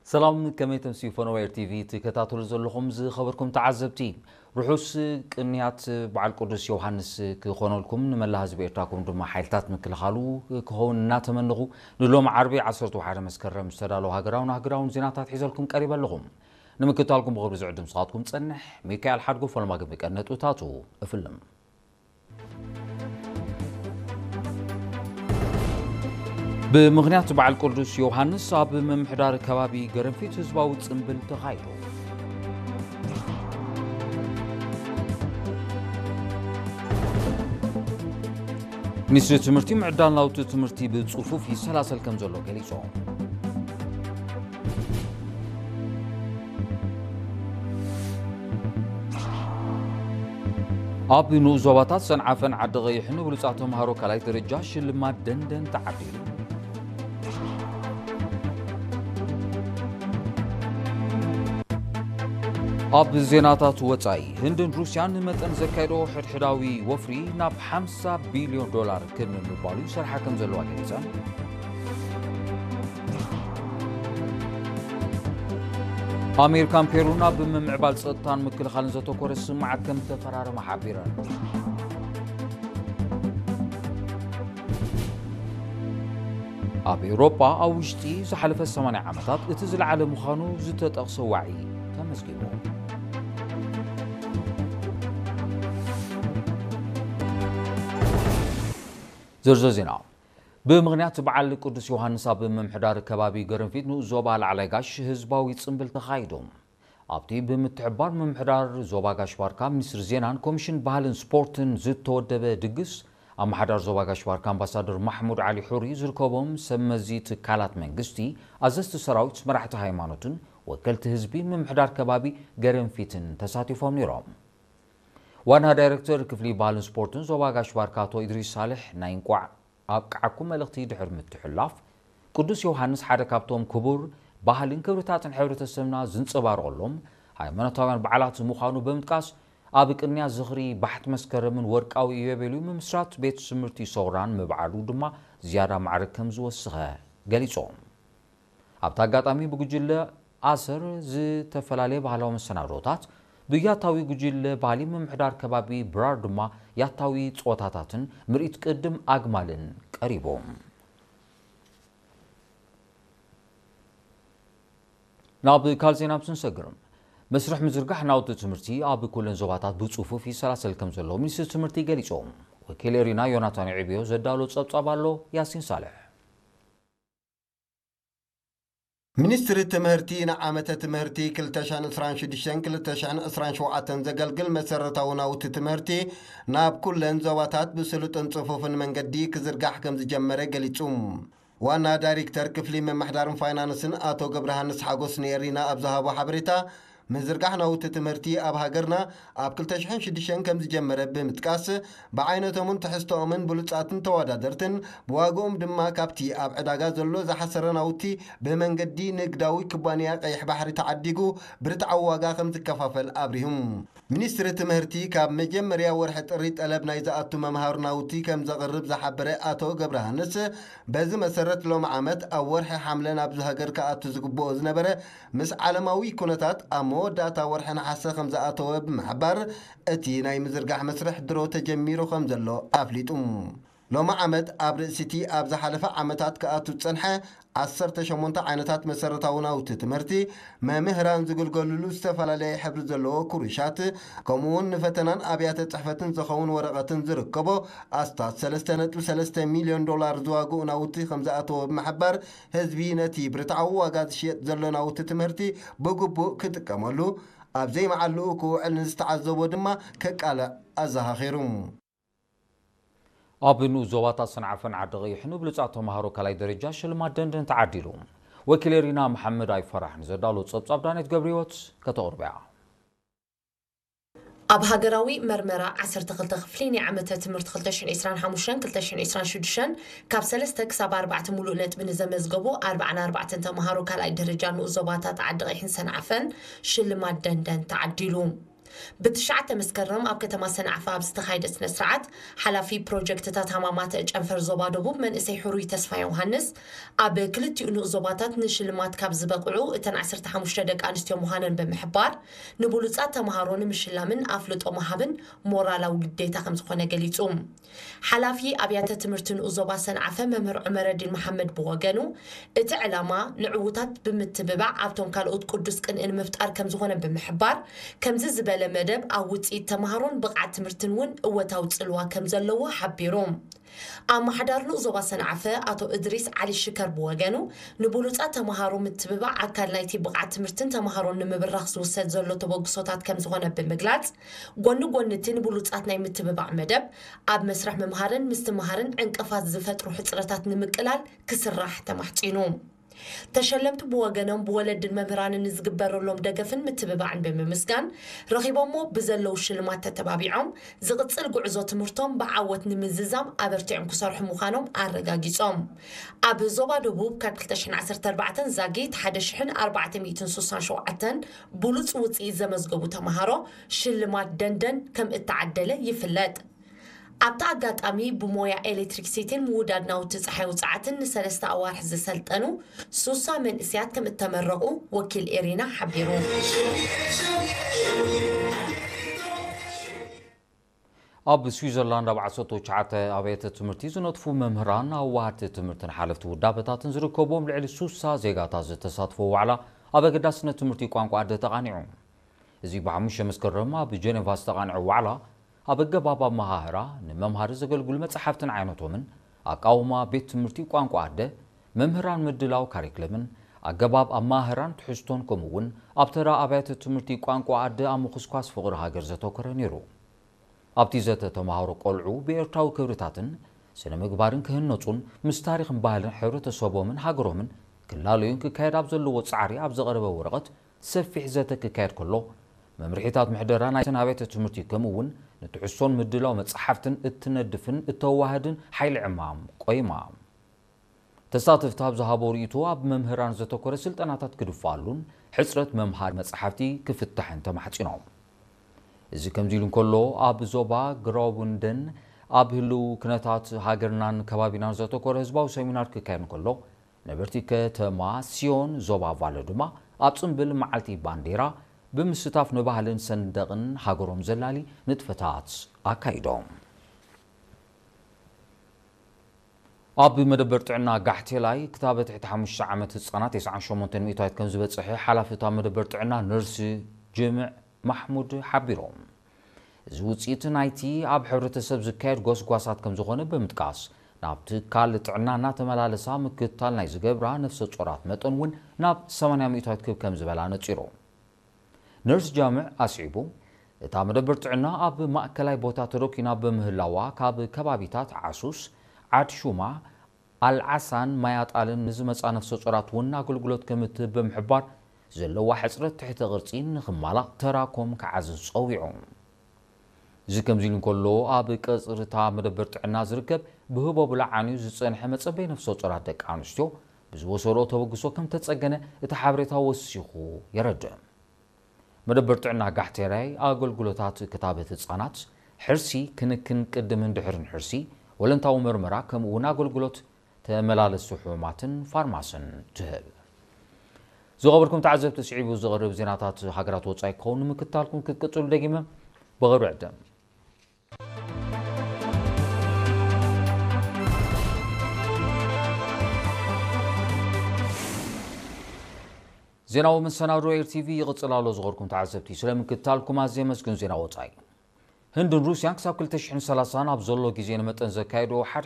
ሰላም፣ ከመይ ተምስዩ ፈነወ ኤር ቲቪ ትከታተሉ ዘለኹም ዝኸበርኩም ተዓዘብቲ? ርሑስ ቅንያት በዓል ቅዱስ ዮሃንስ ክኾነልኩም፣ ንመላ ህዝቢ ኤርትራኩም ድማ ሓይልታት ምክልኻሉ ክኸውን እናተመንኹ፣ ንሎም ዓርቢ ዓሰርተ ሓደ መስከረም ዝተዳለዉ ሃገራውን ኣህጉራውን ዜናታት ሒዘልኩም ቀሪበ ኣለኹ። ንምክትታልኩም ብኽብሪ ዝዕድም ስኻትኩም ጸንሕ፣ ሚካኤል ሓድጎ ፈለማ ግን ብቀነጥብታቱ እፍልም። ብምኽንያት በዓል ቅዱስ ዮሃንስ ኣብ ምምሕዳር ከባቢ ገረንፊት ህዝባዊ ጽምብል ተኻይዱ። ሚኒስትሪ ትምህርቲ ምዕዳል ናውቲ ትምህርቲ ብጽፉፍ ይሰላሰል ከም ዘሎ ገሊጹ። ኣብ ንኡስ ዞባታት ሰንዓፈን ዓዲ ቐይሕን ንብሉጻት ተምሃሮ ካልኣይ ደረጃ ሽልማት ደንደን ተዓዲሉ። ኣብ ዜናታት ወጻኢ፣ ህንድን ሩስያን ንመጠን ዘካየዶ ሕድሕዳዊ ወፍሪ ናብ ሓምሳ ቢልዮን ዶላር ክብ ንምባሉ ይሰርሓ ከም ዘለዋ ገሊጸን። ኣሜሪካን ፔሩን ኣብ ምምዕባል ጸጥታን ምክልኻልን ዘተኮረ ስምምዓት ከም ተፈራረማ ሓቢረን። ኣብ ኤውሮጳ ኣብ ውሽጢ ዝሓለፈ ሰማንያ ዓመታት እቲ ዝለዓለ ምዃኑ ዝተጠቕሰ ዋዒ ተመዝጊቡ። ዝርዝር ዜና። ብምኽንያት በዓል ቅዱስ ዮሃንስ ኣብ ምምሕዳር ከባቢ ገረንፊት ንኡስ ዞባ ላዕላይ ጋሽ ህዝባዊ ጽምብል ተኻይዱ። ኣብቲ ብምትሕብባር ምምሕዳር ዞባ ጋሽ ባርካ፣ ሚኒስትሪ ዜናን ኮሚሽን ባህልን ስፖርትን ዝተወደበ ድግስ፣ ኣመሓዳር ዞባ ጋሽ ባርካ ኣምባሳደር ማሕሙድ ዓሊ ሑሪ ዝርከቦም ሰብ መዚ ትካላት መንግስቲ፣ ኣዘዝቲ ሰራዊት፣ መራሕቲ ሃይማኖትን ወከልቲ ህዝቢ ምምሕዳር ከባቢ ገረንፊትን ተሳቲፎም ነይሮም። ዋና ዳይሬክተር ክፍሊ ባህልን ስፖርትን ዞባ ጋሽ ባርካ ኣቶ ኢድሪስ ሳልሕ ናይ እንቋዕ ኣብቅዓኩም መልእኽቲ ድሕሪ ምትሕልላፍ፣ ቅዱስ ዮሃንስ ሓደ ካብቶም ክቡር ባህልን ክብርታትን ሕብረተሰብና ዝንጸባረቐሎም ሃይማኖታውያን በዓላት ምዃኑ ብምጥቃስ፣ ኣብ ቅንያ ዝኽሪ ባሕቲ መስከረምን ወርቃዊ ኢዮቤልዩ ምምስራት ቤት ትምህርቲ ሰውራን ምብዓሉ ድማ ዝያዳ ማዕረ ከም ዝወሰኸ ገሊጾም። ኣብቲ ኣጋጣሚ ብጉጅለ ኣሰር ዝተፈላለየ ባህላዊ መሰናዶታት፣ ብያታዊ ጉጅለ ባህሊ ምምሕዳር ከባቢ ብራር ድማ ያታዊ ጸወታታትን ምርኢት ቅድም ኣግማልን ቀሪቡ። ናብ ካልእ ዜና ምስ ንሰግር፣ መስርሕ ምዝርጋሕ ናውቲ ትምህርቲ ኣብ ኩለን ዞባታት ብጽፉፍ ይሰላሰል ከም ዘሎ ሚኒስትሪ ትምህርቲ ገሊጹ። ወኪል ኤሪና ዮናታን ዕብዮ ዘዳሎ ጸብጻብ ኣሎ፣ ያሲን ሳልሕ። ሚኒስትሪ ትምህርቲ ንዓመተ ትምህርቲ ክልተ ሽሕን ዕስራን ሽዱሽተን ክልተ ሽሕን ዕስራን ሸውዓተን ዘገልግል መሰረታዊ ናውቲ ትምህርቲ ናብ ኩለን ዞባታት ብስሉጥን ጽፉፍን መንገዲ ክዝርጋሕ ከም ዝጀመረ ገሊጹ። ዋና ዳይሬክተር ክፍሊ ምምሕዳርን ፋይናንስን ኣቶ ገብረሃንስ ሓጎስ ንኤሪና ኣብ ዝሃቦ ሓበሬታ፣ ምዝርጋሕ ናውቲ ትምህርቲ ኣብ ሃገርና ኣብ ክልተ ሽሕን ሽዱሽተን ከም ዝጀመረ ብምጥቃስ፣ ብዓይነቶምን ትሕዝቶኦምን ብሉጻትን ተወዳደርትን፣ ብዋግኦም ድማ ካብቲ ኣብ ዕዳጋ ዘሎ ዝሓሰረ ናውቲ ብመንገዲ ንግዳዊ ኩባንያ ቀይሕ ባሕሪ ተዓዲጉ ብርትዓዊ ዋጋ ከም ዝከፋፈል ኣብሪሁም። ሚኒስትሪ ትምህርቲ ካብ መጀመርያ ወርሒ ጥሪ ጠለብ ናይ ዝኣቱ መምሃሪ ናውቲ ከም ዘቕርብ ዝሓበረ ኣቶ ገብረሃንስ፣ በዚ መሰረት ሎሚ ዓመት ኣብ ወርሒ ሓምለ ናብዚ ሃገር ክኣቱ ዝግብኦ ዝነበረ ምስ ዓለማዊ ኩነታት ኣብ መወዳእታ ወርሒ ነሓሰ ከም ዝኣተወ ብምሕባር፣ እቲ ናይ ምዝርጋሕ መስርሕ ድሮ ተጀሚሩ ከም ዘሎ ኣፍሊጡ። ሎሚ ዓመት ኣብ ርእሲቲ ኣብ ዝሓለፈ ዓመታት ክኣቱ ዝጸንሐ ዓሰርተ ሸሞንተ ዓይነታት መሰረታዊ ናውቲ ትምህርቲ፣ መምህራን ዝግልገሉሉ ዝተፈላለየ ሕብሪ ዘለዎ ክሩሻት፣ ከምኡውን ንፈተናን ኣብያተ ጽሕፈትን ዝኸውን ወረቐትን ዝርከቦ ኣስታት ሰለስተ ነጥቢ ሰለስተ ሚልዮን ዶላር ዝዋግኡ ናውቲ ከም ዝኣተወ ብምሕባር፣ ህዝቢ ነቲ ብርትዓዊ ዋጋ ዝሽየጥ ዘሎ ናውቲ ትምህርቲ ብግቡእ ክጥቀመሉ፣ ኣብ ዘይመዓልኡ ክውዕል ንዝተዓዘቦ ድማ ከቃልዕ ኣዘኻኺሩ። ኣብ ንኡስ ዞባታት ሰንዓፈን ዓዲ ቐይሕን ብሉጻት ተምሃሮ ካልኣይ ደረጃ ሽልማት ደንደን ተዓዲሉ። ወኪል ኤሪና መሓመድ ኣይፈራሕ ንዘዳሎ ጸብጻብ ዳኔት ገብረህይወት ከተቕርብያ። ኣብ ሃገራዊ መርመራ ዓሰርተ ክልተ ክፍሊ ናይ ዓመተ ትምህርቲ ክልተ ሽሕን ዕስራን ሓሙሽተን ክልተ ሽሕን ዕስራን ሽዱሽተን ካብ ሰለስተ ክሳብ ኣርባዕተ ሙሉእ ነጥቢ ንዘመዝገቡ ኣርባዓን ኣርባዕተን ተምሃሮ ካልኣይ ደረጃ ንኡስ ዞባታት ዓዲ ቐይሕን ሰንዓፈን ሽልማት ደንደን ተዓዲሉ። ብትሽዓተ መስከረም ኣብ ከተማ ሰንዓፈ ኣብ ዝተኻየደ ስነ ስርዓት፣ ሓላፊ ፕሮጀክትታት ሃማማት ጨንፈር ዞባ ደቡብ መንእሰይ ሕሩይ ተስፋ ዮሃንስ፣ ኣብ ክልቲኡ ንኡስ ዞባታት ንሽልማት ካብ ዝበቕዑ እተን ዓሰርተ ሓሙሽተ ደቂ ኣንስትዮ ምዃነን ብምሕባር፣ ንብሉጻት ተምሃሮ ንምሽላምን ኣፍልጦ ምሃብን ሞራላዊ ግዴታ ከም ዝኾነ ገሊጹ። ሓላፊ ኣብያተ ትምህርቲ ንኡስ ዞባ ሰንዓፈ መምህር ዑመረዲን መሓመድ ብወገኑ፣ እቲ ዕላማ ንዕዉታት ብምትብባዕ ኣብቶም ካልኦት ቅዱስ ቅንኢ ንምፍጣር ከም ዝኾነ ብምሕባር፣ ከምዚ ዝበለ መደብ ኣብ ውፅኢት ተምሃሮን ብቕዓት ትምህርትን እውን እወታዊ ፅልዋ ከም ዘለዎ ሓቢሩ። ኣመሓዳሪ ንኡስ ዞባ ሰንዓፈ ኣቶ እድሪስ ዓሊ ሽከር ብወገኑ፣ ንብሉፃት ተምሃሮ ምትብባዕ ኣካል ናይቲ ብቕዓት ትምህርትን ተምሃሮን ንምብራኽ ዝውሰድ ዘሎ ተበግሶታት ከም ዝኾነ ብምግላፅ፣ ጎኒ ጎኒ እቲ ንብሉፃት ናይ ምትብባዕ መደብ፣ ኣብ መስርሕ ምምሃርን ምስትምሃርን ዕንቅፋት ዝፈጥሩ ሕፅረታት ንምቅላል ክስራሕ ተማሕፂኑ። ተሸለምቲ ብወገኖም ብወለድን መምህራንን ንዝግበረሎም ደገፍን ምትብባዕን ብምምስጋን፣ ረኺቦሞ ብዘለዉ ሽልማት ተተባቢዖም ዝቕፅል ጉዕዞ ትምህርቶም ብዓወት ንምዝዛም ኣበርቲዖም ክሰርሑ ምዃኖም ኣረጋጊጾም። ኣብ ዞባ ደቡብ ካብ ክልተ ሽሕን ዓሰርተ ኣርባዕተን ዛጊት ሓደ ሽሕን ኣርባዕተ ሚእትን ስሳን ሸውዓተን ብሉጽ ውጽኢት ዘመዝገቡ ተምሃሮ ሽልማት ደንደን ከም እተዓደለ ይፍለጥ። ኣብቲ ኣጋጣሚ ብሞያ ኤሌክትሪክሲቲን ምውዳድ ናውቲ ጸሓይ ውጽዓትን ንሰለስተ ኣዋርሕ ዝሰልጠኑ ሱሳ መንእስያት ከም እተመረቑ ወኪል ኤሪና ሓቢሩ። ኣብ ስዊዘርላንድ ኣብ ዓሰርተ ትሽዓተ ኣብያተ ትምህርቲ ዝነጥፉ መምህራን፣ ኣዋሃድቲ ትምህርትን ሓለፍቲ ውዳበታትን ዝርከብዎም ልዕሊ ሱሳ ዜጋታት ዝተሳትፎ ዋዕላ ኣብ ኣገዳስነት ትምህርቲ ቋንቋ ኣደ ተቓኒዑ። እዚ ብሓሙሽተ መስከረም ኣብ ጀኔቫ ዝተቓንዐ ዋዕላ፣ ኣብ ኣገባብ ኣመሃህራ፣ ንመምሃሪ ዘገልግሉ መጻሕፍትን ዓይነቶምን፣ ኣቃውማ ቤት ትምህርቲ ቋንቋ ኣደ፣ መምህራን ምድላው ካሪክለምን ኣገባብ ኣመሃህራን ትሕዝቶን፣ ከምኡ እውን ኣብ ተራ ኣብያተ ትምህርቲ ቋንቋ ኣደ ኣብ ምኹስኳስ ፍቕሪ ሃገር ዘተኮረ ነይሩ። ኣብቲ ዘተ ተምሃሮ ቆልዑ ብኤርትራዊ ክብርታትን ስነ ምግባርን ክህነጹን ምስ ታሪኽን ባህልን ሕብረተሰቦምን ሃገሮምን ክላለዩን ክካየድ ኣብ ዘለዎ ጻዕሪ ኣብ ዘቐረበ ወረቐት ሰፊሕ ዘተ ክካየድ ከሎ፣ መምርሒታት ምሕደራ ናይተን ኣብያተ ትምህርቲ ከምኡ እውን ንትሕዝቶን ምድላው መጻሕፍትን እትነድፍን እተዋህድን ሓይሊ ዕማም ቆይማ። ተሳተፍቲ ኣብ ዝሃቦ ርእይቶ ኣብ መምህራን ዘተኮረ ስልጠናታት ክድፋኣሉን ሕጽረት መምሃሪ መጻሕፍቲ ክፍታሕን ተማሕጺኖም። እዚ ከምዚ ኢሉ እንከሎ፣ ኣብ ዞባ ግራውቡንደን ኣብ ህልው ኩነታት ሃገርናን ከባቢናን ዘተኮረ ህዝባዊ ሰሚናር ክካየድ እንከሎ፣ ነበርቲ ከተማ ሲዮን ዞባ ቫሎ ድማ ኣብ ጽምብል መዓልቲ ባንዴራ ብምስታፍ ንባህልን ሰንደቕን ሃገሮም ዘላሊ ንጥፈታት ኣካይዶም። ኣብ መደበር ጥዕና ጋሕቴላይ ክታበት ትሕቲ ሓሙሽተ ዓመት ህጻናት ተስዓን ሸሞንተን ሚእታዊት ከም ዝበጽሐ ሓላፊ እታ መደበር ጥዕና ነርስ ጅምዕ ማሕሙድ ሓቢሮም። እዚ ውጽኢት ናይቲ ኣብ ሕብረተሰብ ዝካየድ ጎስጓሳት ከም ዝኾነ ብምጥቃስ፣ ናብ ትካል ጥዕና እናተመላለሳ ምክትታል ናይ ዝገብራ ነፍሰ ጾራት መጠን እውን ናብ ሰማንያ ሚእታዊት ክብ ከም ዝበላ ነጺሩ። ነርስ ጃምዕ ኣስዒቡ፣ እታ መደበር ጥዕና ኣብ ማእከላይ ቦታ ተደኪና ብምህላዋ፣ ካብ ከባቢታት ዓሱስ፣ ዓድ ሹማ፣ ኣልዓሳን ማያጣልን ንዝመጻ ነፍሰ ጾራት እውን ኣገልግሎት ከም እትህብ ብምሕባር፣ ዘለዋ ሕጽረት ትሕተ ቅርጺ ንኽማላእ ተራኮም ክዓዝዝ ጸዊዑ። እዚ ከምዚ ኢሉ እንከሎ፣ ኣብ ቀጽሪ እታ መደበር ጥዕና ዝርከብ ብህቦብላ ዓንዩ ዝጸንሐ መጸበይ ነፍሰ ጾራት ደቂ ኣንስትዮ ብዝወሰድኦ ተበግሶ ከም ተጸገነ እቲ ሓበሬታ ወሲኹ የረድእ። መደበር ጥዕና ጋሕቴላይ ኣገልግሎታት ክታበት ህጻናት፣ ሕርሲ፣ ክንክን ቅድምን ድሕርን ሕርሲ፣ ወለንታዊ መርመራ፣ ከምኡ እውን ኣገልግሎት ተመላለስቲ ሕሙማትን ፋርማስን ትህብ። ዝኸበርኩም ተዓዘብቲ፣ ስዒቡ ዝቐርብ ዜናታት ሃገራት ወጻኢ ክኸውን ንምክትታልኩም ክትቅጽሉ ደጊመ ብቕርብ ዕድም። ዜናዊ መሰናዶ ኤር ቲቪ ይቕጽል ኣሎ። ዝኸበርኩም ተዓዘብቲ፣ ስለ ምክትታልኩም ኣዝየ የመስግን። ዜና ወጻኢ። ህንድን ሩስያን ክሳብ ክልተ ሽሕን ሰላሳን ኣብ ዘሎ ግዜ ንመጠን ዘካየድኦ ሓድ